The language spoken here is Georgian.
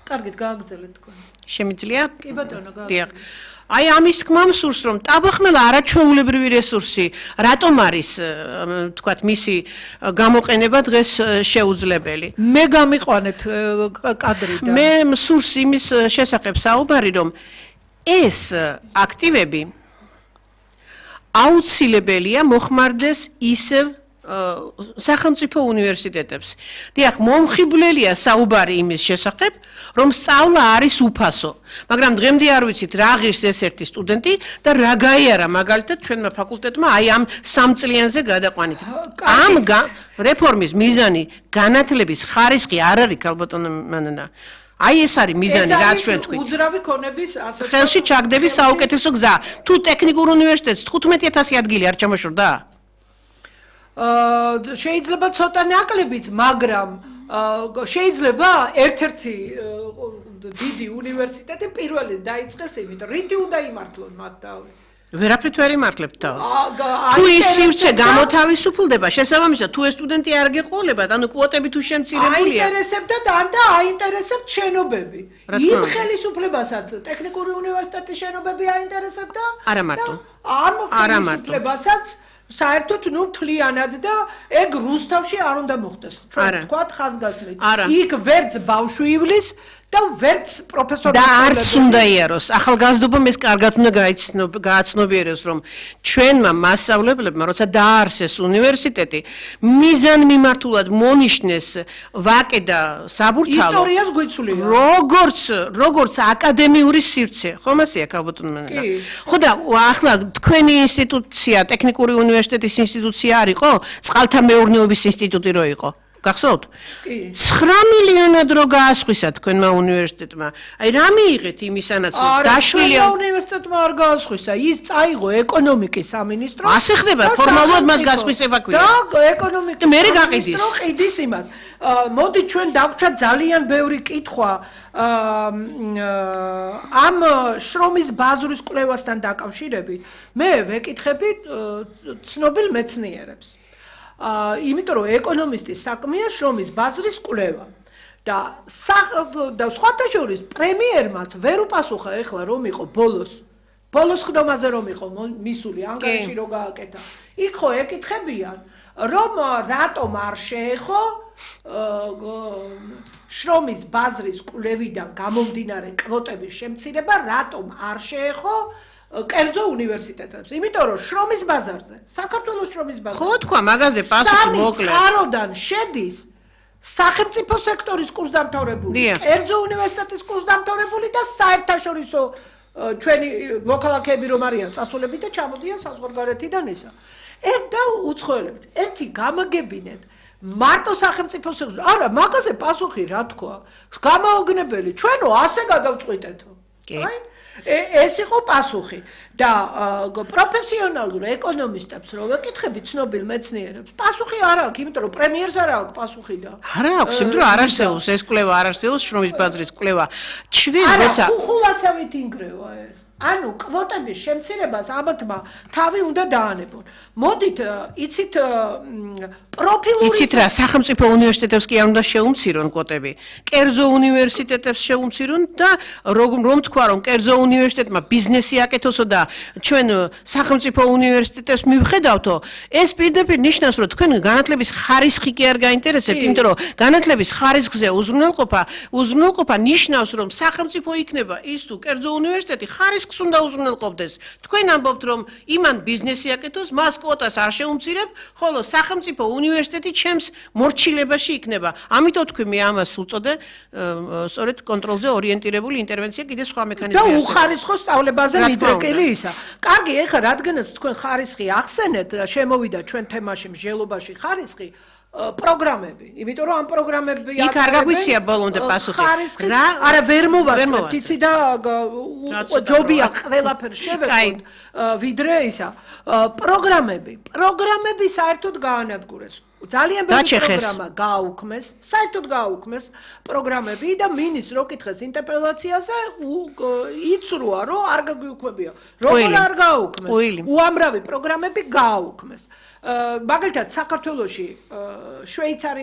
კარგით გააგრძელეთ თქვენ. შემიძლია? კი ბატონო, დიახ. აი ამის თქმა მსურს რომ ტაბახმელა არაჩვეულებრივი რესურსი რატომ არის თქვათ მისი გამოყენება დღეს შეუძლებელი მე გამიყვანეთ კადრიდან მე მსურს იმის შესახებ საუბარი რომ ეს აქტივები აუცილებელია მოხმარდეს ისევ სახელმწიფო უნივერსიტეტებს. დიახ, მომხიბვლელია საუბარი იმის შესახებ, რომ სწავლა არის უფასო. მაგრამ დღემდე არ ვიცით რა ღირს ეს ერთი სტუდენტი და რა გაიარა მაგალითად ჩვენმა ფაკულტეტმა აი ამ 3 წლიანზე გადაყვანით. ამ რეფორმის მიზანი განათლების ხარისხი არ არის ქალბატონო მანანა. აი ეს არის მიზანი რაც ჩვენ თქვით. უძრავი ქონების ასე ხელში ჩაგდების საუკეთესო გზა. თუ ტექნიკურ უნივერსიტეტს 15000 ადგილი არ ჩამოშორდა? შეიძლება ცოტა ნაკლებიც, მაგრამ შეიძლება ერთ-ერთი დიდი უნივერსიტეტი პირველი დაიწყეს იმით, რითი უნდა იმართლონ მათ თავი. ვერაფრით ვერ იმართლებთ თავს. თუ ის სივრცე გამოთავისუფლდება, შესაბამისად, თუ ეს სტუდენტი არ გეყოლებათ, ანუ კვოტები თუ შემცირებულია. აინტერესებდათ ან და აინტერესებთ შენობები. იმ ხელისუფლებასაც ტექნიკური უნივერსიტეტის შენობები აინტერესებდა? არა მარტო. ამ ხელისუფლებასაც საერთოდ თლიანად და ეგ რუსთავში არ უნდა მოხდეს. ჩვენ ვთქვათ ხაზგასმით. იქ ვერც ბავშვი ივლის და ვერც პროფესორი და არც უნდა იაროს. ახალგაზრდობამ ეს კარგად უნდა გააცნობიეროს, რომ ჩვენმა მასწავლებლებმა, როცა დაარსეს უნივერსიტეტი, მიზანმიმართულად მონიშნეს ვაკე და საბურთალო. ისტორიას გვიცვლია. როგორც აკადემიური სივრცე, ხომ ასეა ქალბატონო მანანა? ხო და ახლა თქვენი ინსტიტუცია, ტექნიკური უნივერსიტეტის ინსტიტუცია არ იყო, წყალთა მეურნეობის ინსტიტუტი რო იყო. გახსოვთ? 9 მილიონად რო გაასხვისა თქვენმა უნივერსიტეტმა. აი რა მიიღეთ იმისანაც დაშვილია უნივერსიტეტმა არ გაასხვისა. ის წაიღო ეკონომიკის სამინისტრო. ასე ხდება, ფორმალურად მას გასხვისება ქვია. და ეკონომიკის სამინისტრო ყიდის იმას. მოდი ჩვენ დავგვჩათ ძალიან ბევრი კითხვა ამ შრომის ბაზრის კვლევასთან დაკავშირებით. მე ვეკითხები ცნობილ მეცნიერებს. იმიტომ რომ ეკონომისტის საქმეა შრომის ბაზრის კვლევა და სხვათა შორის პრემიერმაც ვერ უპასუხა ეხლა რომ იყო ბოლოს ხდომაზე რომ იყო მისული ანგარიში რო გააკეთა იქ ხო ეკითხებიან რომ რატომ არ შეეხო შრომის ბაზრის კვლევიდან გამომდინარე კვოტების შემცირება რატომ არ შეეხო კერძო უნივერსიტეტებს. იმიტომ რომ შრომის ბაზარზე, საქართველოს შრომის ბაზარზე. ხო თქვა, მაგაზე პასუხი მოკლე. წყაროდან შედის სახელმწიფო სექტორის კურსდამთავრებული, კერძო უნივერსიტეტის კურსდამთავრებული და საერთაშორისო ჩვენი მოქალაქეები რომ არიან წასულები და ჩამოდიან საზღვარგარეთიდან ისა. და უცხოელებს. ერთი გამაგებინეთ მარტო სახელმწიფო სექტორი. არა, მაგაზე პასუხი რა თქვა? გამაოგნებელი. ჩვენო ასე გადავწყვიტეთო. აი ეს იყო პასუხი და პროფესიონალურ ეკონომისტებს რო ვეკითხები ცნობილ მეცნიერებს პასუხი არ აქვს იმიტომ რომ პრემიერს არ აქვს პასუხი და არა აქვს იმიტომ რომ არ არსებობს ეს კვლევა არ არსებობს შრომის ბაზრის კვლევა ჩვენ როცა ხულასავით ინგრევა ეს ანუ კვოტების შემცირებას ამათმა თავი უნდა დაანებონ მოდით იცით პროფილური იცით რა სახელმწიფო უნივერსიტეტებს კი არ უნდა შეუმცირონ კვოტები კერძო უნივერსიტეტებს შეუმცირონ და რომ თქვა რომ კერძო უნივერსიტეტმა ბიზნესი აკეთოსო და ჩვენ სახელმწიფო უნივერსიტეტებს მივხედავთო ეს პირდაპირ ნიშნავს რომ თქვენ განათლების ხარისხი კი არ გაინტერესებთ იმიტომ რომ განათლების ხარისხზე უზრუნველყოფა ნიშნავს რომ სახელმწიფო იქნება ის თუ კერძო უნივერსიტეტი ხარისხს უნდა უზრუნველყოფდეს თქვენ ამბობთ რომ იმან ბიზნესი აკეთოს მას კვოტას არ შეუმცირებ ხოლო სახელმწიფო უნივერსიტეტი ჩემს მორჩილებაში იქნება ამიტომ თქვი მე ამას უწოდე სწორედ კონტროლზე ორიენტირებული ინტერვენცია კიდე სხვა მექანიზმი და უხარისხო სწავლებაზე მიდრეკილი ისა კარგი ეხლა რადგანაც თქვენ ხარისხი ახსენეთ და შემოვიდა ჩვენ თემაში მსჯელობაში ხარისხი პროგრამები იმიტომ რომ ამ პროგრამები იქ არ გაგვიცია ბოლომდე პასუხი რა არა ვერ მოვასწრებთ იცი და ჯობია ყველაფერს შევექოთ ვიდრე ისა პროგრამები საერთოდ გაანადგურეს ძალიან ბევრი პროგრამა გააუქმეს, საერთოდ გააუქმეს პროგრამები და მინის რო კითხეს ინტერპელაციაზე იცრუა რომ არ გაგვიუქმებია. როგორ არ გააუქმეს? უამრავი პროგრამები გააუქმეს. მაგალითად საქართველოში შვეიცარია